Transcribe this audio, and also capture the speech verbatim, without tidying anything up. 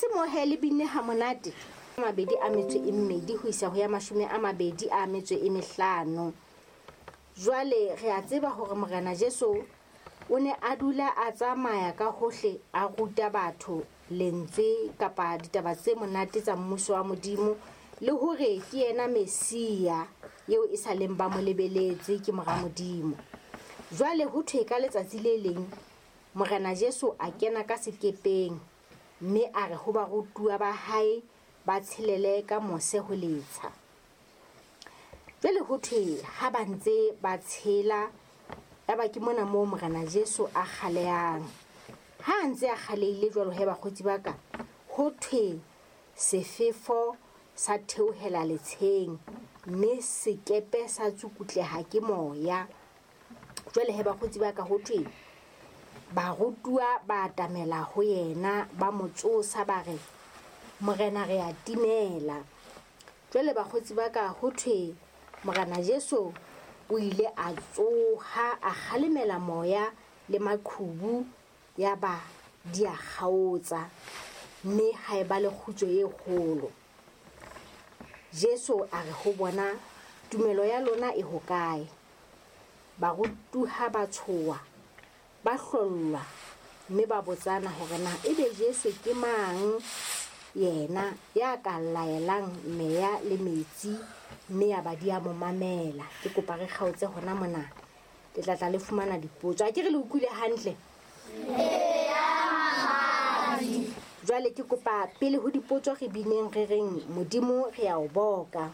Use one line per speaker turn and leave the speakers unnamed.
se mo he le binne ha monate. Mabedi a metso e mmedi ho isa ho ya mashome a mabedi a metso e mehlano. Jwale re a tseba hore Morena Jesu o ne a dula a tsamaya ka hohle a ruta batho lentswe kapa ditaba tse monate tsa mmuso wa Modimo, le hore ke yena Mesia eo e sa leng ba mo lebeletse ke mora Modimo. Jwale ho thwe ka letsatsi le leng Morena Jesu a kena ka sekepeng mme a re ho barutuwa ba hae ba tshelele ka mose ho letsha. Jwale ho thwe ha ba ntse ba tshela, yaba ke mona moo Morena Jesu a kgalehang. Ha a ntse a kgalehile jwalo he bakgotsi ba ka, ho thwe sefefo sa theohela letsheng mme sekepe sa tsukutleha ke moya. Jwale he bakgotsi ba ka, ho thwe barutuwa ba atamela ho yena, ba mo tsosa ba re, Morena re a timela. Jwale bakgotsi ba ka, ho thwe Morena Jesu o ile a tsoha, a kgalemela moya le maqhubu, yaba di a kgaotsa mme ha eba le kgutso e kgolo. Jesu a re ho bona, tumelo ya lona e hokae? Barutuwa ba tshoha, ba hlollwa mme ba botsana hore na ebe Jesu ke mang yena ya ka laelang meya le metsi mme ya ba di a mo mamela. Ke kopa re kgaotse hona mona, le tla tla le fumana dipotso. A ke re le utlwile hantle? Jwale ke kopa pele ho dipotso re bineng re reng Modimo re a o boka.